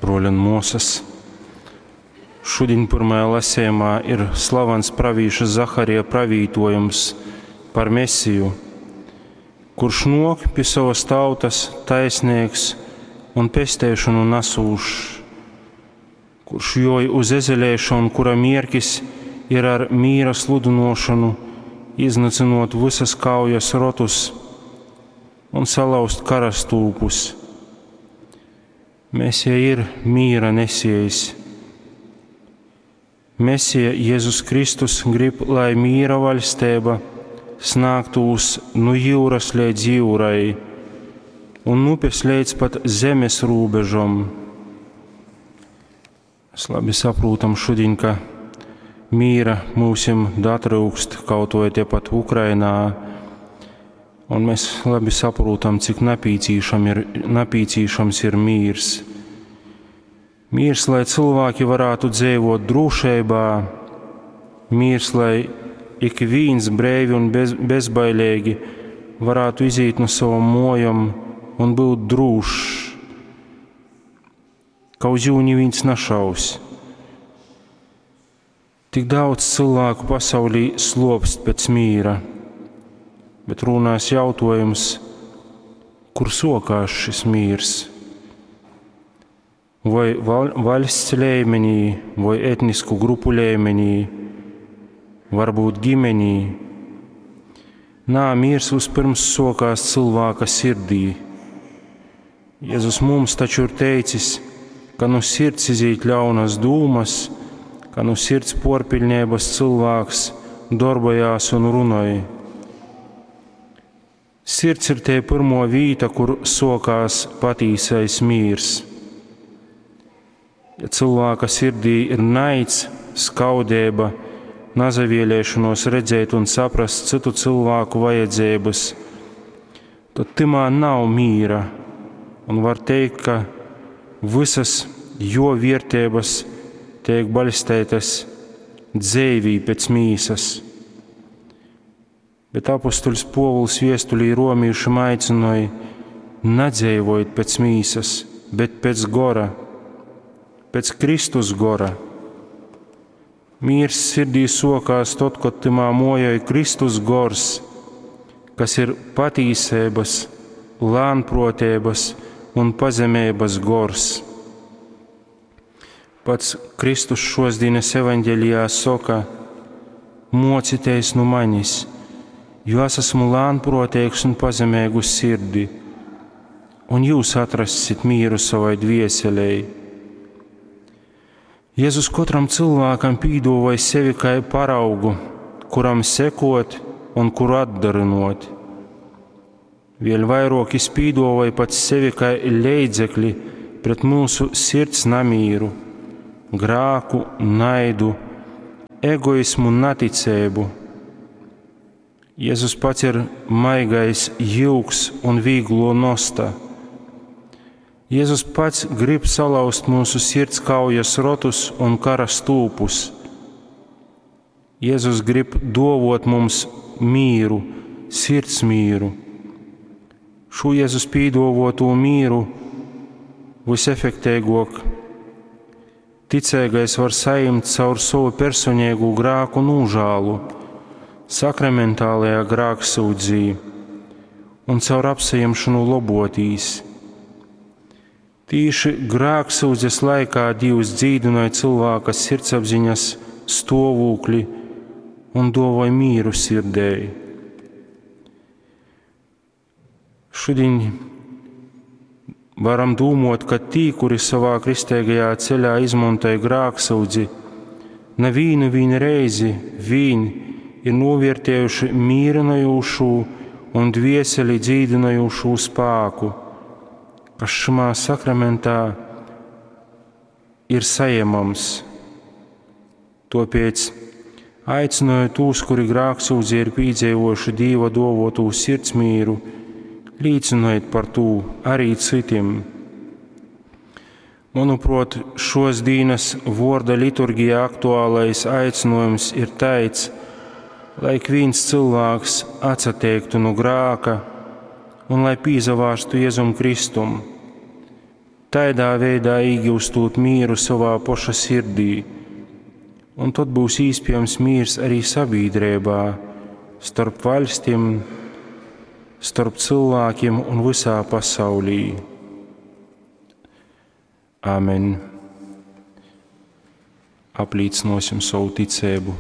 Bruoļi un muosys, šudiņ pyrmajā lasejumā ir slavens pravīša Zaharija pravītojums par Mesiju, kurš nuok pi sovas tautas taisneigs un pesteišonu nasūšs, kurš juoj uz ezeleiša un kura mierkis ir ar mīra sludynuošonu iznycynuot vysas kaujas rotus un salauzt karastūpus. Mesija ir mīra nesiejs. Mesija Jēzus Kristus grib, lai mīra vaļsteiba snāgtūs nu jyuras leidz jyurai un upes leidz pat zemes rūbežom. Mēs labi saprūtam šudiņ, ka mīra mūsim datryukst kaut vai tepat Ukrainā, un mēs labi saprūtam, cik napīcīšams ir mīrs. Mīrs, lai cilvēki varētu dzīvot drošībā, mīrs, lai ik viens breivi un bezbailīgi varētu iziet no savam mojam un būt drūšs, ka uz jū neviens našaus. Tik daudz cilvēku pasaulī slopst pēc mīra, bet runās jautājums, kur sokās šis mīrs? Vai vaļsts līmenī, vai etnisku grupu līmenī, varbūt ģimenī. Nā, miers vispirms sokās cilvēka sirdī. Jēzus mums taču ir teicis, ka no sirds izīt ļaunas dūmas, ka no sirds porpiļņības cilvēks darbojās un runoj. Sirds ir te pirmo vīta, kur sokās patīsais mīrs. Ja cilvēka sirdī ir naids, skaudība, nazavielēšanos redzēt un saprast citu cilvēku vajadzības, tad timā nav mīra. Un var teikt, ka visas jo vērtības tiek balstētas dzēvī pēc mīsas. Bet apustuļs Povuls viestulī romīšiem aicināja: nedzīvojiet pēc mīsas, bet pēc gora, pēc Kristus gora. Mīrs sirdī sokās tad, kad timā mojoja Kristus gors, kas ir patīsības, lānprotības un pazemības gors. Pats Kristus šosdienas evaņģēlijā saka: mocieties no manis, jo es esmu lānprotīgs un pazemīgu sirdi, un jūs atrassit mieru savai dvieselei. Jēzus katram cilvēkam pīdavoja sevi kā paraugu, kuram sekot un kuru atdarinot. Vēl vairāk viņš pīdavoja pats sevi kā leidzekli pret mūsu sirds namīru, grāku, naidu, egoismu un neticību. Jēzus pats ir maigais jūgs un vieglo nosta. Jēzus pats grib salauzt mūsu sirds kaujas rotus un kara stūpus. Jēzus grib dovot mums mīru, sirds mīru. Šo Jēzus pīdovoto mīru visefektīgāk ticīgais var saņemt caur savu personīgu grāku nūžālu, sakramentālajā grāksūdzī un caur apsajemšanu lobotīs. Tīši grāksūdzes laikā Dievs dzīdināja cilvēka sirdsapziņas stāvokli un dovoja mīru sirdēji. Šodien varam domāt, ka tī, kuri savā kristīgajā ceļā izmantoja grāksūdzi, nevienu vien reizi vien ir novērtējuši mīrinojošu un dvieseli dzīdinojošu spēku, kas šimā sakramentā ir saņemams. Tāpēc aicināju tos, kuri grāksūdzī ir pīdzīvojuši Dieva dovotū sirdsmīru, līdzinojiet par to arī citiem. Manuprāt, šos dienas vorda liturgijā aktuālais aicinājums ir tāds, lai ik viens cilvēks atsateiktu no grāka un lai pīzavārstu Jēzum Kristum. Taidā veidā īgiustūt mīru sovā poša sirdī, un tod būs īspējams mīrs arī sabiedrībā, starp vaļstim, starp cilvēkiem un visā pasaulī. Amen. Aplīcināsim savu ticību.